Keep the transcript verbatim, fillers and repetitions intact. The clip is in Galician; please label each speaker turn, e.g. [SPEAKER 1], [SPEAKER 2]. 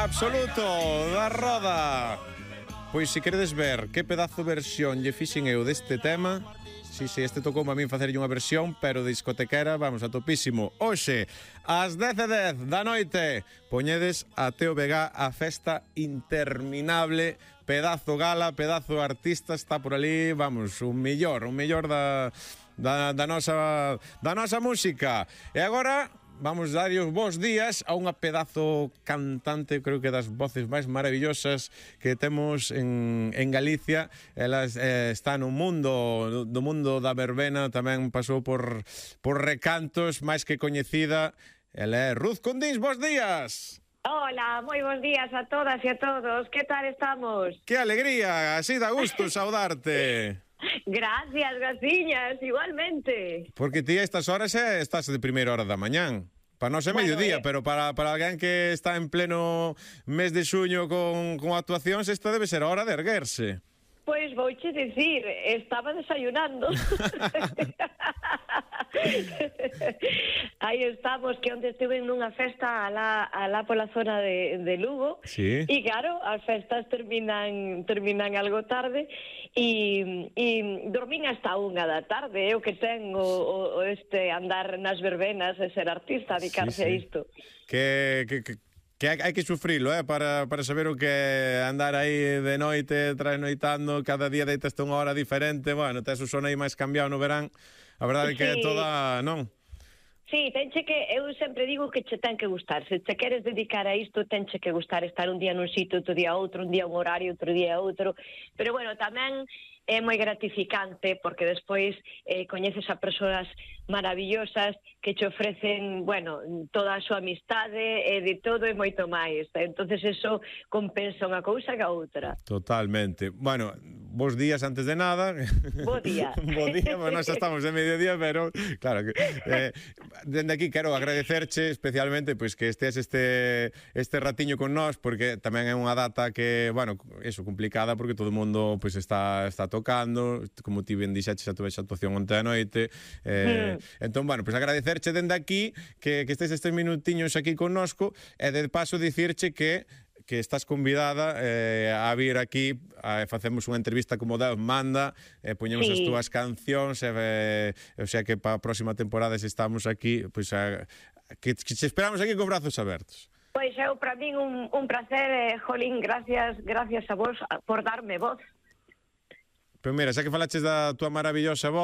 [SPEAKER 1] absoluto da Roda. Pois se queredes ver que pedazo versión lle fixen eu deste tema, si, si, este tocou a min facerlle unha versión, pero discotequera, vamos, a topísimo. Hoxe, ás dez e dez da noite, poñedes a Teo Vega a festa interminable, pedazo gala, pedazo artista, está por ali, vamos, un millor, un millor da, da, da, nosa, da nosa música. E agora vamos dar os bons días a unha pedazo cantante, creo que das voces máis maravillosas que temos en, en Galicia. Ela eh, está no mundo do mundo da verbena, tamén pasou por, por recantos, máis que coñecida. Ela é Ruth Condís, bons días.
[SPEAKER 2] Hola, moi bons días a todas e a todos. Que tal estamos?
[SPEAKER 1] Que alegría, así da gusto saudarte.
[SPEAKER 2] Gracias, graciñas, igualmente.
[SPEAKER 1] Porque ti a estas horas eh, estás de primeira hora da mañán. Para nós é bueno, mediodía, eh... pero para, para alguén que está en pleno mes de xuño con, con actuacións, esta debe ser a hora de erguerse.
[SPEAKER 2] Pois vouche dicir, estaba desayunando. Aí estamos, que onde estuve nunha festa alá, alá pola zona de, de Lugo.
[SPEAKER 1] Sí.
[SPEAKER 2] E claro, as festas terminan terminan algo tarde e, e dormín hasta unha da tarde. Eu que ten o, o, o este andar nas verbenas e ser artista, dedicarse sí, sí. a isto.
[SPEAKER 1] Que... que, que... Que hai, hai que sufrilo, eh, para, para saber o que é andar aí de noite, trasnoitando, cada día deitaste unha hora diferente, bueno, tes o son aí máis cambiado no verán, a verdade é que é toda, non?
[SPEAKER 2] Sí, tenche que, eu sempre digo que che ten que gustar, se te queres dedicar a isto, tenche que gustar estar un día nun sitio, outro día outro, un día un horario, outro día outro, pero bueno, tamén é moi gratificante porque despois eh, coñeces a persoas maravillosas que che ofrecen, bueno, toda a súa amistade e de todo e moito máis. Entonces eso compensa unha cousa que a outra.
[SPEAKER 1] Totalmente. Bueno, bons días antes de nada.
[SPEAKER 2] Bo día.
[SPEAKER 1] Bo día, bueno, xa estamos en mediodía, pero claro que eh, dende aquí quero agradecerche especialmente pois que estés este este ratiño con nós, porque tamén é unha data que, bueno, eso complicada porque todo o mundo pois está está tocando, como ti ben dixeches, xa tuve esa actuación onte a noite. Eh, mm. Entón, bueno, pois agradecerche dende aquí que, que estés estes minutiños aquí connosco e de paso dicirche que que estás convidada eh, a vir aquí, a, facemos unha entrevista como Deus manda, eh, poñemos sí. as túas cancións, eh, o sea que para a próxima temporada se estamos aquí, pois a, que, que te esperamos aquí con brazos abertos.
[SPEAKER 2] Pois eu, para min, un, un placer, eh, Jolín, gracias, gracias a vos por darme voz.
[SPEAKER 1] Pero mira, xa que falaches da túa maravillosa voz,